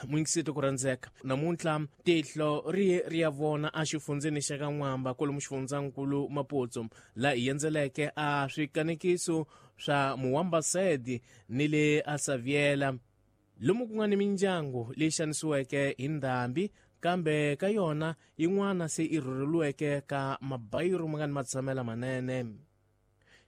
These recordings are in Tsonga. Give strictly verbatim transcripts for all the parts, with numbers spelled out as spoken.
Mwingisito ku rhandzeka namuntlha tihlo ri ri ya vona exifundzeni xa ka N'wamba kwalomu xifundzankulu Maputsu laha hi endzeleke a swikanekiso swa Muwambasedi ni le a Saviela lomu ku nga ni mindyangu leyi xanisiweke hi ndhambi kambe ka yona yin'wana se i rhurheliweke ka mabayiru ma nga ni matshamela manene.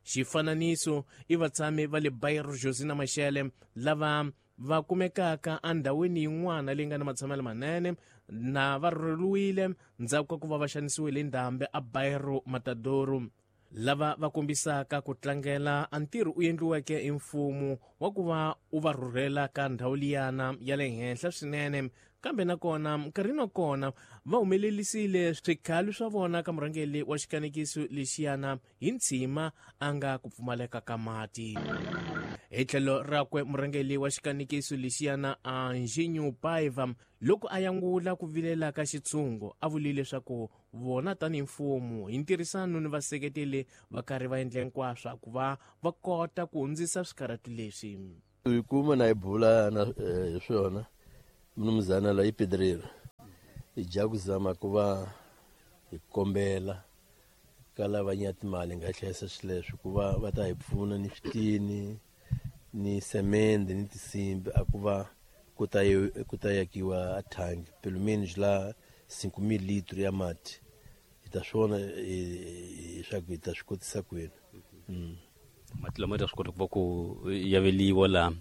Xifananiso i vatshami va le Bairro Josina Machel lava va kumekaka endhawini yin'wana leyi nga ni matshamelo manene na va rhurheliwile ndzhaku ka ku va va xanisiwile hi ndhambi a Bairro Matadoru lava va kombisaka ku tlangela a ntirho u endliweke hi mfumo wa ku va u va rhurhela ka ndhawu liyana ya le henhla swinene kambe nakona nkarhini wa kona va humelelisile swikhalo swa vona ka murhangeri wa xikanekiso lexiyana hi ntshima a nga ku pfumaleka ka mati. Hi tlhelo rakwe murhangeri wa xikanekiso lexiyana Anjinyu Paiva loko a yangula ku vilela ka xitshungu a vulile leswaku vona tanihi mfumo hi ntirhisano ni vaseketeli va karhi va endla hinkwaswo ku va va kota ku hundzisa swikarhati leswi. Hi kuma na hi bula na hi swona mnumzana la i pedreiro hi dya ku zama ku va hi kombela ka lava nya timali nga hlayisa swileswo ku va va ta hi pfuna ni switini ni semende ni tinsimbi a ku va ku ta ku ta yakiwa a thangi pelo menos la cinco mil litros ya mati hi ta swona leswaku hi ta swi kotisa kwini. Mati lama ta swi kota ku va ku yaveliwa laha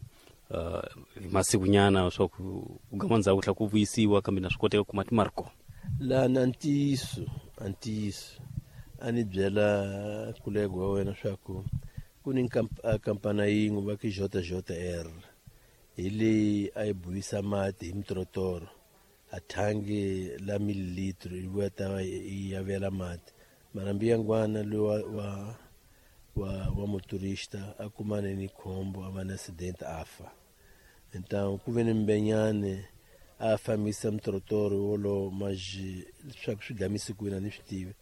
uh, masikunyana swa ku ku gama ndzhaku tlhela ku vuyisiwa kambe na swi koteka ku mati ma ri kona. Lana ntiyiso a ntiyiso a ni byela kulego wa wena swa ku ku ni kampani yin'we va ku J J R hi leyi a yi buyisa mati hi mitorotoro a thangi la mililitro yi vuya ta yi yavela mati mara mbiyangwana loyi wa wa wa wa motorista a kumane ni khombo a va na accident a fa. Então ku ve ni mbenyane a fambisa mitorotoro wolowo mas leswaku swi gamise kwini a ni swi tivi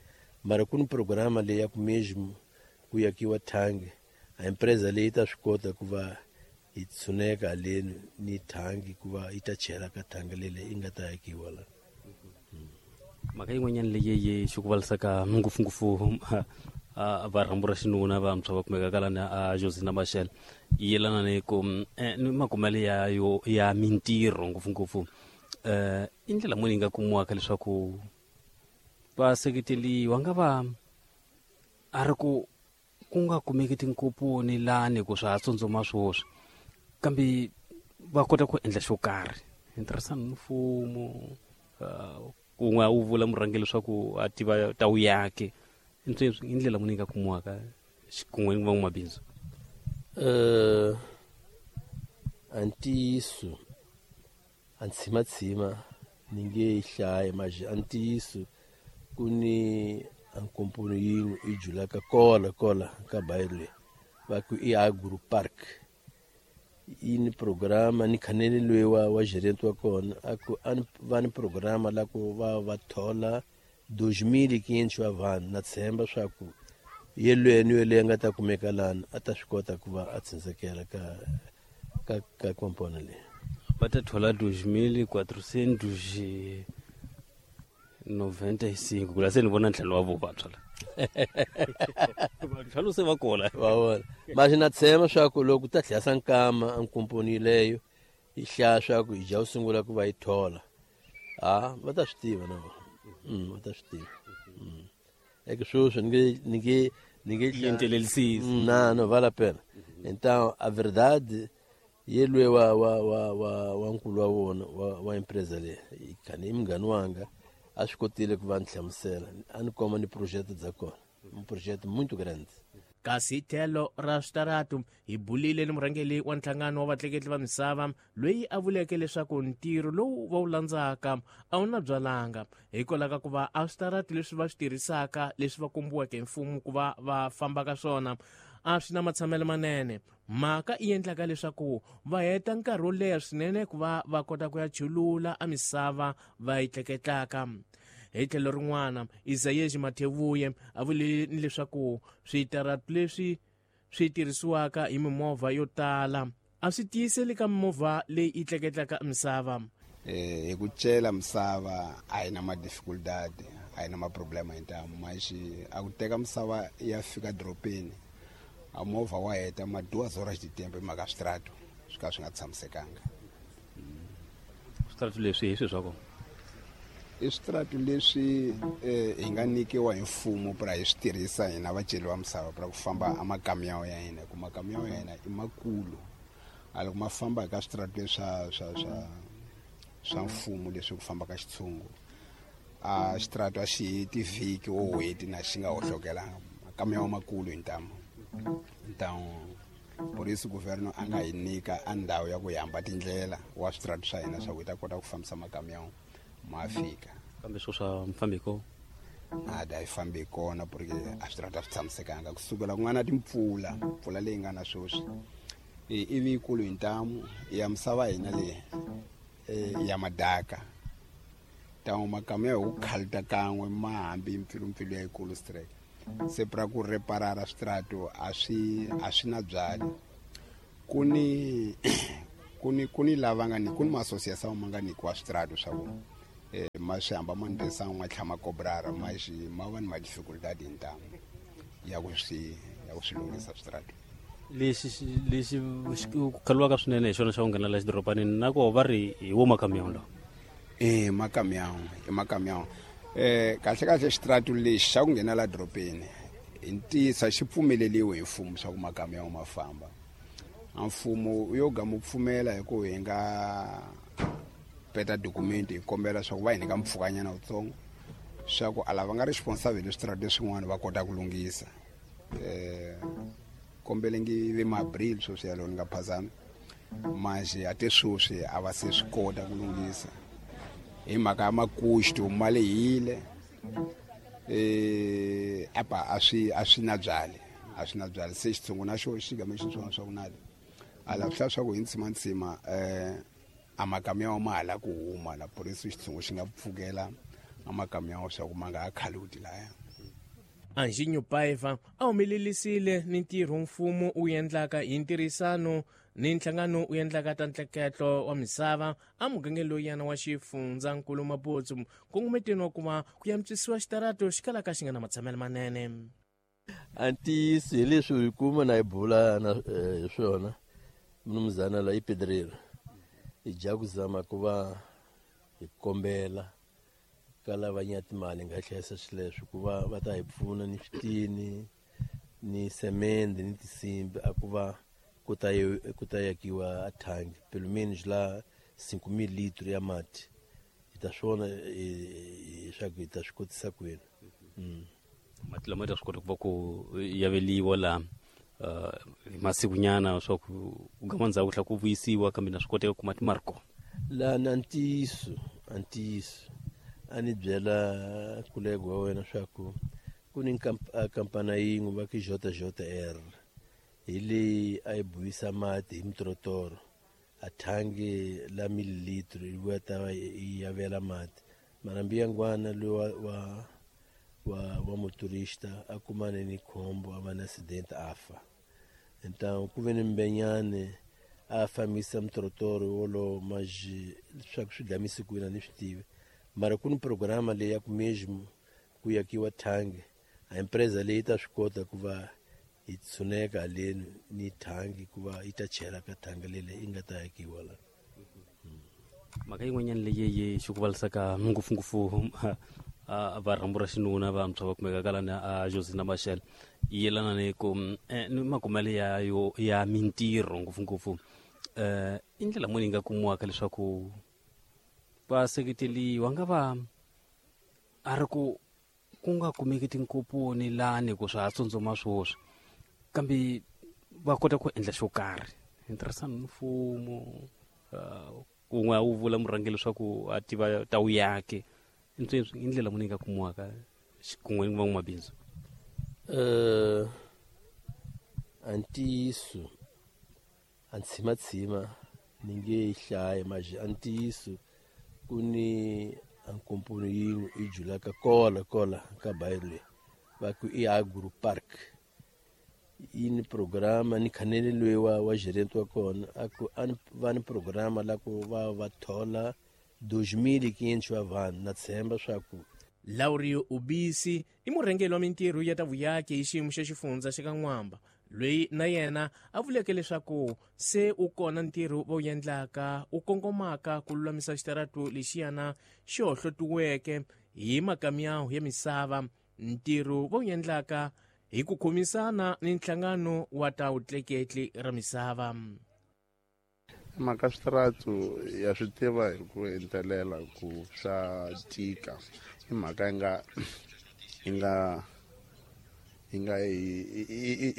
mara ku ni programa leyi ya ku mesmo ku yakiwa thangi a empresa leyi ta swi kota ku va yi tshuneka haleni ni thangi ku va yi ta chela ka thangi lele yi nga ta yakiwa la. Mhaka yin'wanyana leyi yi xikuvalisaka ngopfungopfu va rhambu ra xinuna vantshwa va kumeka ka lani a Josina Machel yi yelana ni ku ni makumelo ya yo ya mintirho ngopfungopfu um i ndlela muni yi nga kumiwaka leswaku va seketeliwa nga va a ri ku ku nga kumeki tinkoponi lani ku swa ha tsundzuma swoswi kambe va kota ku endla xo karhi hi ntirhisano ni mfumo uh, kun'we a wu vula murhangeri leswaku a tiva ta wuyaki i ndlela muni yi nga kumiwaka xikun'we ni van'wamabindzu? uh, a ntiyiso a ntshima-tshima ni nge yi hlayi mas a ntiyiso ku ni a nkomponi yin'we yi julaka kola kola ka bairro leyi va ku i Agro Park yi ni programa ni khaneni loyi wa wa gerente wa kona a ku a ni va ni programa la ku va va thola dois mil e quinhentos wa vanhu na tshemba swa ku yelweni ni yeleyo a nga ta kumeka lani a ta swi kota ku va a tshundzekela ka ka ka komponi leyi. Va ta thola dois mil quatrocentos noventa e cinco ku la se ni vona ntlhelo wa vo vantshwa la vantshwa se va kola. Va vona mas na tshemba swa ku loko ta tlhela nkama a nkomponi leyo yi hlaya swa ku hi dya ku sungula ku va yi thola ha va ta swi tiva na vona mm, va ta swi tiva mm. eke sweswi ni nge ni nge ni nge Yentelelisizi. Mm, não, não vale a pena. Então, a verdade, ye wa wa wa wa wa nkulu wa vona wa, wa empresa leyi khani i munghani wanga a swi kotile ku va ni hlamusela a ni komba ni projeto bya kona, um projeto muito grande. Kasi tlhelo ra switaratu hi bulile ni murhangeri wa nhlangano wa vatleketli va misava loyi a vuleke leswaku ntirho lowu va wu landzaka a wu na byalanga hikwalaho ka ku va a switaratu leswi va swi tirhisaka leswi va kombiweke hi mfumo ku va va famba ka swona a swi na matshamelo manene mhaka yi endlaka leswaku va heta nkarhi wo leha swinene ku va va kota ku ya chulula a misava va yi tleketlaka. Hi tlhelo rin'wana Isayeji Mathevuye a vule ni leswaku switaratu leswi swi tirhisiwaka hi mimovha yo tala a swi tiyiseli ka mimovha leyi yi tleketlaka misava. Eh hi ku cela misava a yi na ma-dificuldade, a yi na ma-problema hintamu, mas a ku teka misava ya fika doropeni a movha wa heta ma duas horas de tempo hi mhaka switrato swi ka swi nga tshamisekanga. Switrato leswi hi swi swa kona i switrato leswi eh, hi nga nyikiwa hi mfumo pra hi swi tirhisa hina vaceli va misava pra ku famba a makamiyawu ya hina, ku makamiyawu ya hina i makulu, a loko ma famba ka switrato leswa swa swa swa mfumo leswi ku famba ka xitshungu a xitrato a xi heti vhiki o hweti na xi nga hohlokelanga, makamiyawu makulu hi ntamu. Então por isso governo a nga hi nyika a ndhawu ya ku hamba tindlela wa switrato swa hina swa ku hi ta kota ku fambisa makamiyawu ma fika. Kambe swo swa mfambi ko nada a yi fambi kona porque a switrato a swi tshamisekanga kusukela ku nga na timpfula, mpfula leyi nga na sweswi ivi yikulu hi ntamu ya misava hina leyi ya madaka, ntamu makamiyawu hi ku khalita kan'we ma hambi mpfilumpfilu ya yikulu straight, se pra ku reparara switrato a swi a swi na byali. Ku ni ku ni ku ni lava nga ni ku ni ma-association ma nga nyikiwa switrato swa ku eh ma swi hamba ma ndesa ma tlhama kobrara ma xi ma va ni ma-dificuldade hi ntamu ya ku swi ya ku swi lunghisa switrato. Lexi lexi ku khaliwaka swinene hi xona xa ku nghena la xidorobanini na koho va ri hi wo makamiyawu lawa. Eh makamiyawu i makamiyawu. Eh kahle kahle xitrato lexi xa ku nghena la doropeni hi ntiyiso xi pfumeleliwe hi mfumo swa ku makamiyawu ma famba. A mfumo yo ga mu pfumela hi ku hi nga peta document hi kombela swa ku va hi nyika mpfhukanyana wutsongo swa ku a lava nga responsible switrato leswin'wana va kota ku lunghisa. Eh kombelengi ve ma-abril sweswi yalowo ni nga phazami, manje a te sweswi a va se swi kota ku lunghisa hi mhaka ya makuxto ma lehile, eh apa a swi a swi na byali a swi na byali se xitshungu na xo xi game xi swona swa ku nali a la swi swa ku hi ntsima ntsima eh a makamiyawu ma hala ku huma la, por isso xitshungu xi nga pfukela a makamiyawu swa ku ma nga ha khaluti laya. Anjinho Paiva a humelelisile ni ntirho mfumo wu endlaka hi ntirhisano ni nhlangano wu endlaka ta ntleketlo wa misava a mugangeni loyana wa xifundzankulu Maputo nkongometeni wa ku va ku antswisiwa xitarato xi kalaka xi nga na matshamelo manene. A ntiyiso hi leswi hi kuma na hi bula na hi swona mnumzana la i pedreiro hi dya ku zama ku va hi kombela ka lava nya timali nga hlayisa swileswi ku va va ta hi pfuna ni switini ni semende ni tinsimbi a ku va ku ta ku ta yakiwa a thangi pelo menos la cinco mil litros ya mati hi ta swona leswaku hi ta swi kotisa kwini. Mati lama ta swi kota ku va ku yaveliwa la masikunyana swa ku gama ndzhaku tlhela ku vuyisiwa kambe na swi koteka ku mati ma ri kona. La na ntiyiso a ntiyiso a ni byela kulego wa wena swa ku ku ni kampana yin'we va ku J J R hi leyi a yi buyisa mati hi mitorotoro a thangi la mililitro yi vuya ta va yi yavela mati mara mbiyangwana loyi wa wa wa wa motorista a kumane ni khombo a va na accident a fa. Então ku ve ni mbenyane a fambisa mitorotoro wolowo mas leswaku swi gamise kwini a ni swi tivi, mara ku ni programa leyi ya ku mesmo ku yakiwa thangi a empresa leyi ta swi kota ku va hi tshuneka haleni ni thangi ku va yi ta chela ka thangi lele yi nga ta yakiwa la. Mhaka yin'wanyana leyi yi xi ku valisaka ngopfungopfu va rhambu ra xinuna vantshwa va kumekaka lani a Josina Machel yi yelana ni ku ni makumelo ya yo ya mintirho ngopfungopfu um i ndlela muni yi nga kumiwaka leswaku va seketeriwa nga va a ri ku ku nga kumeki tinkoponi lani ku swa ha tsundzuma swoswi kambe va kota ku endla xo karhi hi ntirhisano ni mfumo kun'we a wu vula murhangeri leswaku a tiva ta wu yake i ndlela muni yi nga kumiwaka kun'we ni van'wamabindzu. Uh, a ntiyiso a ntshimatshima ni nge yi hlayi mas a ntiyiso ku ni a nkomponi yin'we yi julaka kola kola ka bayiro leyi va ku i Agro Park yi ni programa ni khanele loyi wa wa gerente wa kona a ku a va ni programa la ku va va thola dois mil e quinhentos wa vanhu na tshemba swa ku Laurio Ubisi i murhangeri wa mintirho ya ta vuyaki hi xiyimo xa xifundza xa ka N'wamba loyi na yena a vuleke leswaku se u kona ntirho va wu endlaka u kongomaka ku lulamisa xitaratu lexiyana xi hohlotiweke hi makamiyawu ya misava ntirho va wu endlaka hi ku khomisana ni nhlangano wa ta vutleketli ra misava. Mhaka switaratu ya swi tiva hi ku entelela ku swa tika i mhaka yi nga yi nga yi nga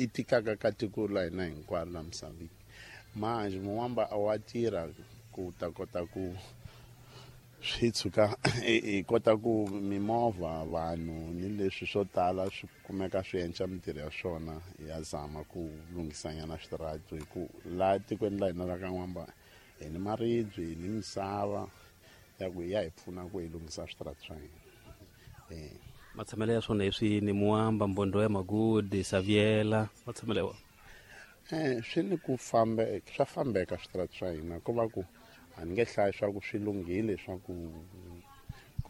i tikaka ka tiko la hina hinkwaro la misaveni manjhe Muwamba a wa tirha ku ta kota ku swi tshuka hi kota ku mimovha vanhu ni leswi swo tala swi kumeka swi endla mintirho ya swona ya zama ku lunghisanyana switaratu hi ku laha tikweni la hina ra ka N'wamba hi ni maribye hi ni misava ya ku ya hi pfuna ku hi lunghisa switaratu swa hina. Eh matshamelo ya swona hi swini Muwamba Mbondo ya Magudi Saviela matshamelo ya wona eh swi ni ku fambe swa fambeka switaratu swa hina ko va ku a ni nge hlayi swa ku swi lunghile swa ku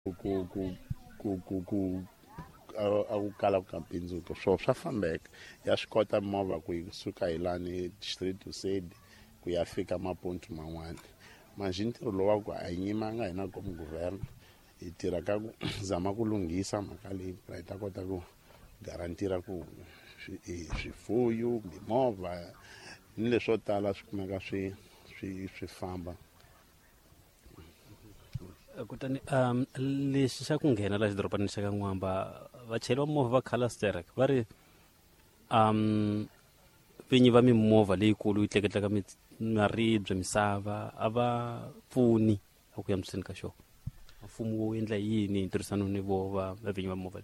ku ku ku ku ku ku a ku kala ku ka bindzuko swo swa fambeka ya swi kota movha ku yi suka hi lani street to side ku ya fika mapontu man'wana manjhe ntirho lowu wa ku a hi nyimanga hina komu guvernor hi tirha ka ku zama ku lunghisa mhaka leyi hi ta kota ku garantira ku swifuyo mimovha ni leswo tala swi kumeka swi swi swi famba. Kutani um lexi xa ku nghena laha xidorobanini xa ka N'wamba vachayeri va movha va Calasterek va ri um vinyi va mimovha leyikulu yi tleketlaka maribye misava a va pfuni a ku yamiseni ka xona mfumo wu endla yini hi ntirhisano ni vo va vinyi va movha.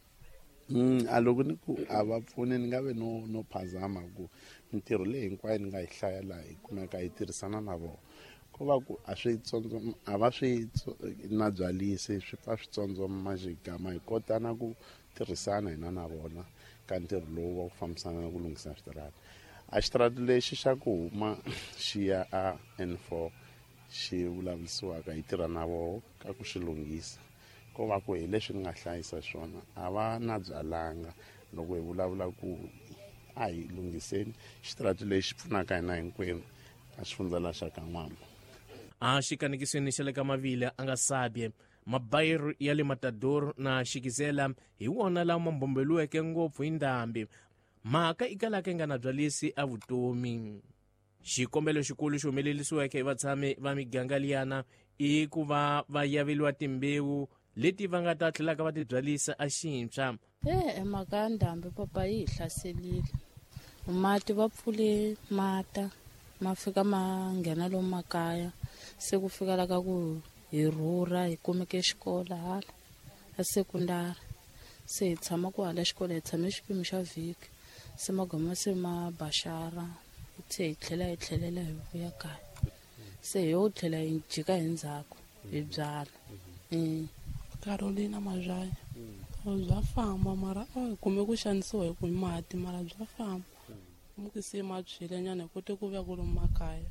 Mm a loko ni ku a va pfuni ni nga ve no no phazama ku mintirho leyi hinkwayo ni nga yi hlaya laha hi kumeka hi tirhisana na vona ko va ku a swi tsondzo a va swi na byalisi swi pfa swi tsondzoma majigama hi kota na ku tirhisana hina na vona ka ntirho lowu wa ku fambisana na ku lunghisa switarata. A xitarata lexi xa ku huma xi ya a N four xi vulavurisiwaka hi tirha na voho ka ku xi lunghisa ko va ku hi leswi ni nga hlayisa swona a va na byalanga loko hi vulavula ku a hi lunghiseni xitarata lexi pfunaka hina hinkwenu a xifundza la xa ka N'wamba. A xikanekisweni xa le ka Mavila a nga sabye mabayiro ya le Matador na Xikizela hi wona lama mbombeliweke ngopfu hi ndhambi mhaka i kalaka yi nga na byalisi a vutomi. Xikombelo xikulu xi humelerisiweke hi vatshami va miganga liyana i ku va va yaveliwa timbewu leti va nga ta tlhelaka va ti byalisa a xintshwa. E mhaka ya ndhambi papa yi hi hlaselile mati va pfule mata ma fika ma nghena lomu makaya se ku fika la ka ku hi rhurha hi kumeke xikolo hala a sekundari se hi tshama ku hala xikolo hi tshame xipimo xa vhiki se magama se ma baxara se hi tlhela hi tlhelela hi vuya kaya se hi yo tlhela hi jika hi ndzhaku hi byala. Carolina Mazhaya bya famba mara a hi kume ku xanisiwa hi ku mati mara bya famba muki se ma tshwile nyana hi kote ku vuya ku lomu makaya.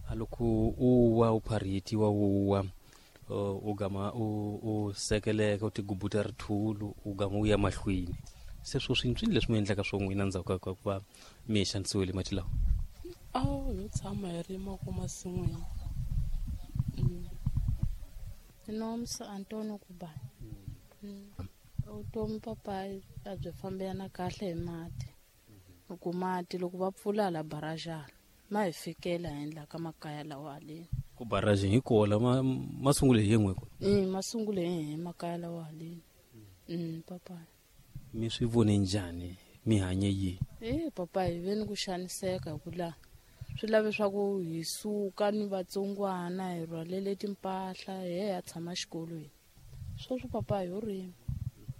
A loko u wa u pharhitiwa u wa u gama u u sekeleka u tigubuta rithulu u gama u ya mahlweni se swo swintswini leswi mi endlaka swo n'wina ndzhaku ka ku va mi xanisiwile mati lawa. A yo tshama hi rima ku masin'wini. Nomsa Antonio Kubani. Vutomi papa a byi fambelana kahle hi mati ku mati loko va pfula la barajana ma hi fikela hi endla ka makaya lawa haleni ku barajeni hi kola ma ma sungule hi yin'we ko mm ma sungule hi makaya lawa haleni mm papa mi swi vone njhani mi hanye yi eh papa hi veni ku xaniseka ku la swi lave swa ku hi suka ni vatsongwana hi rhwalele timpahla hi ya tshama xikolweni sweswo papa hi yo rima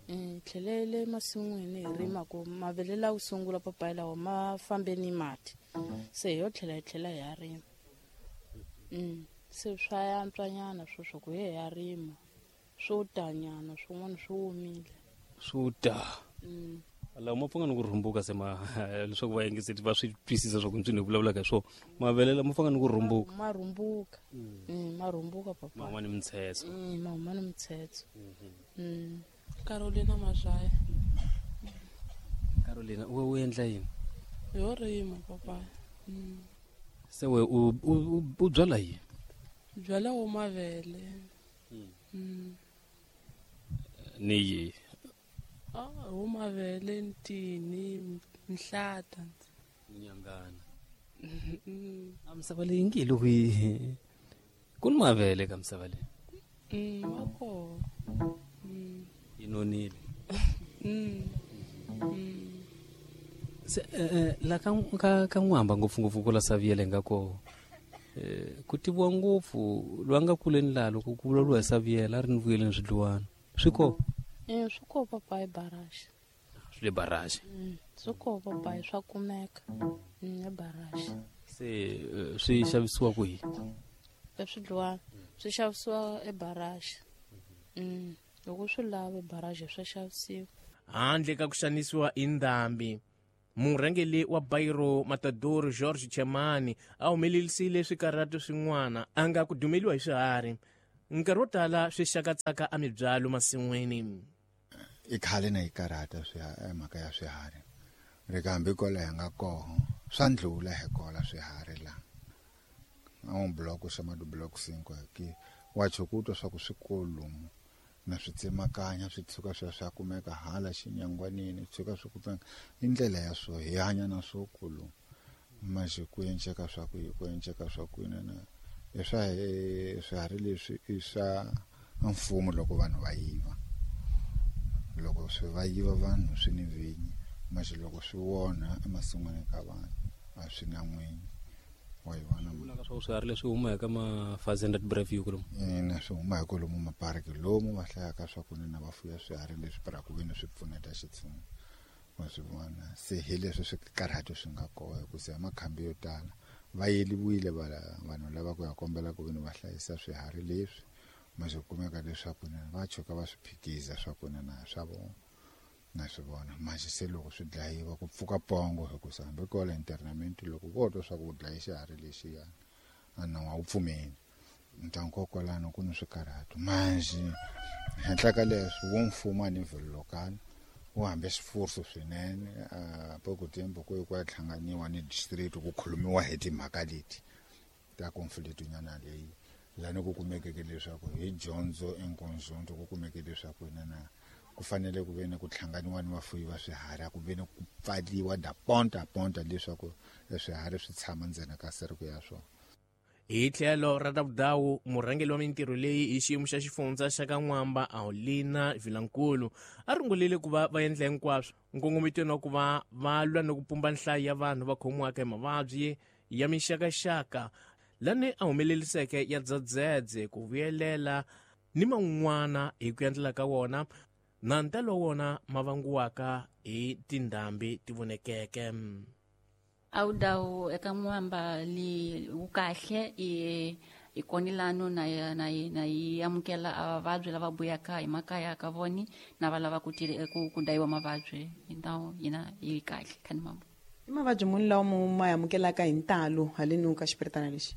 hi tlhelele masin'wini hi rima ku mavele lawa sungula papa lawa ma fambe ni mati se hi yo tlhela hi tlhela hi ya rima mm se swa yantswanyana sweswo ku hi ya rima swo tanyana swin'wana swi omile swo ta mm. Lawa ma pfanga ni ku rhumbuka se ma leswaku va yingiseti va swi twisisa swa ku ntswini hi vulavulaka hi swona. Mavele lama pfanga ni ku rhumbuka. Ma rhumbuka. Mm, ma rhumbuka papa. Ma huma ni mitshetso. Mm, ma huma ni mitshetso. Mm. Carolina Mazhaya. Carolina, u u endla yini? Yo rima papa. Mm. Se we u u u byala yini? Byala wo mavele. Mm. Ni yi. Ah, wo mavele ntini nhlata. Nyangana. A misava leyi ngi loko yi ku ni mavele ka misava leyi. Mm, ma kona. Mm. Yi nonile. Mm. Mm. Se eh la ka ka ka n'wamba ngopfu-ngopfu ku la Saviele nga ko. Eh ku tiviwa ngopfu lwa nga kuleni la loko ku vulavuriwa hi Saviele a ri ni vuyeleni swidluwana. Swi ko? Eh swi ko papa hi barrage. Swi le barrage. Mm, swi ko papa hi swa kumeka. Mm, barrage. Se swi xavisiwa kwihi? Swidluwana swi xavisiwa ebarrage. Mm, loko swi lava barrage swa xavisiwa. Handle ka ku xanisiwa hi ndhambi, murhangeri wa Bairo Matador George Chemani a humelerisile swikarhato swin'wana a nga ku dumeliwa hi swiharhi. Nkarhi wo tala swi xakatsaka emibyalo masin'wini. I khale na yi karhata swiharhi mhaka ya swiharhi. Ri kambe kwala hi nga koho swa ndlula hi kola swiharhi la. A un bloco chamado bloco cinco aqui. Wa chukuto swa ku swikolo na swi tsemakanya swi tshuka swi swa kumeka hala xinyangwanini tshuka swi kupfanga i ndlela ya swo hi hanya na swo kulu manje ku enceka swa ku ku enceka swa ku na i swa swiharhi leswi i swa mfumo loko vanhu va yiva loko swi va yiva vanhu swi ni vinyi manje loko swi wona emasin'wini ka vanhu a swi na n'winyi. Wa yi vona vulaka swa swiharhi leswi huma eka ma-Fazenda Breview kulomu? Ina, swi huma hi kwalomu mapariki lomu va hlayaka swa ku na va fuya swiharhi leswi para ku veni swi pfuneta xitshungu. Wa swi vona se hi leswi swikarhato swi nga kona hikusa makhambi yo tala va yeliwile vanhu lava ku ya kombela ku veni va hlayisa swiharhi leswi manje kumeka leswaku na va tshuka va swi phikiza swa ku na swa vona na swi vona manje se loko swi dlayiwa ku pfuka pongo hikusa hambi kwala internament loko vo twa swa ku dlaya xiharhi lexiyana a nawu a wu pfumeli ntangu kwalano ku ni swikarhato manje henhla ka leswi wo mfumo a nivel local wu hambe swifuso swinene a pouco tempo ku ku ya hlanganiwa ni district ku khulumiwa hi timhaka leti ta conflict nyana leyi lani ku kumekeke leswaku hi dyondzo enkonzonto ku kumeke leswaku na ku fanele ku ve ni ku hlanganiwa ni vafuyi va swiharhi ku ve ni ku pfaliwa da ponta ponta leswaku swiharhi swi tshama ndzeni ka sereko ya swona. Hi tlhelo ra Ravudawu, murhangeri wa mintirho leyi hi xiyimo xa xifundza xa ka N'wamba Aulina Vilankulu a rungulile ku va va endla hinkwaswo nkongometweni wa ku va va lwa ni ku pumba nhlayo ya vanhu va khomiwaka hi mavabyi ya mixakaxaka lani a humeleriseke ya dzedzedze ku vuyelela ni man'wana hi ku endlela ka wona na ntalo wa wona ma vangiwaka hi tindhambi ti vonekeke. Awudawu eka N'wamba li wu kahle i i konilano na na na yi amukela avavabyi lava vuyaka hi makaya ka voni na va lava ku ku ku dayiwa mavabyi então yina yi kahle khani mambo. I mavabyi muni lawa mo ma amukelaka hi ntalo haleni ka xipiritana lexi?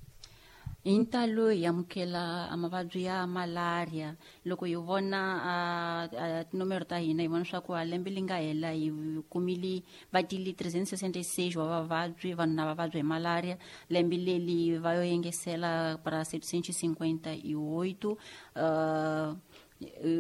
Hi ntalo hi amukela mavabyi ya malaria loko hi vona tinomero ta hina hi vona swa ku a lembe li nga hela hi kumile va tile trezentos e sessenta e seis wa vavabyi vanhu na vavabyi hi malaria lembe leli va yo yengesela para setecentos e cinquenta e oito uh,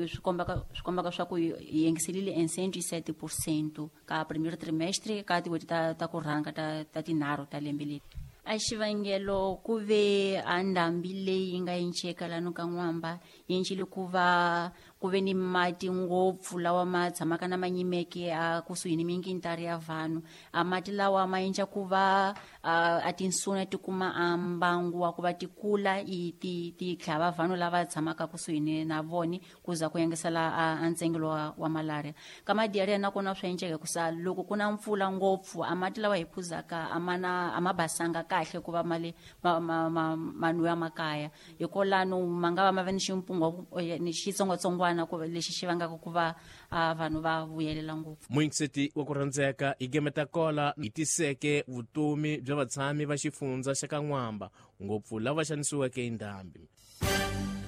swi kombaka swi kombaka swa ku hi yengiselile em cento e sete por cento ka primeiro trimestre ka tin'hweti ta ta ku rhanga ta ta tinharhu ta lembe leri. A xivangelo ku ve a ndhambi leyi nga enceka lano ka N'wamba yi encile ku va ku ve ni mati ngopfu lawa ma tshamaka na manyimeke a kusuhi ni minkintari ya vanhu a mati lawa ma endla ku va a tinsuna ti kuma a mbangu wa ku va ti kula i ti ti tlhava vanhu lava tshamaka kusuhi ni na voni ku za ku yengesela a ntsengelo wa, wa malaria ka madiarrhea nakona swa enceka hikusa loko ku na mpfula ngopfu a mati lawa hi phuzaka a mana a ma basanga kahle ku va mali ma ma ma manwiwa makaya hikolano ma nga va ma va ni ximpungo ni xitsongwatsongwana xitsongwatsongwana ku lexi xi vangaka ku va vanhu va vuyelela ngopfu. Muyingiseti wa ku rhandzeka hi gemeta kola hi tiseke vutomi bya vatshami va xifundza xa ka N'wamba, ngopfu lava xanisiweke hi ndhambi.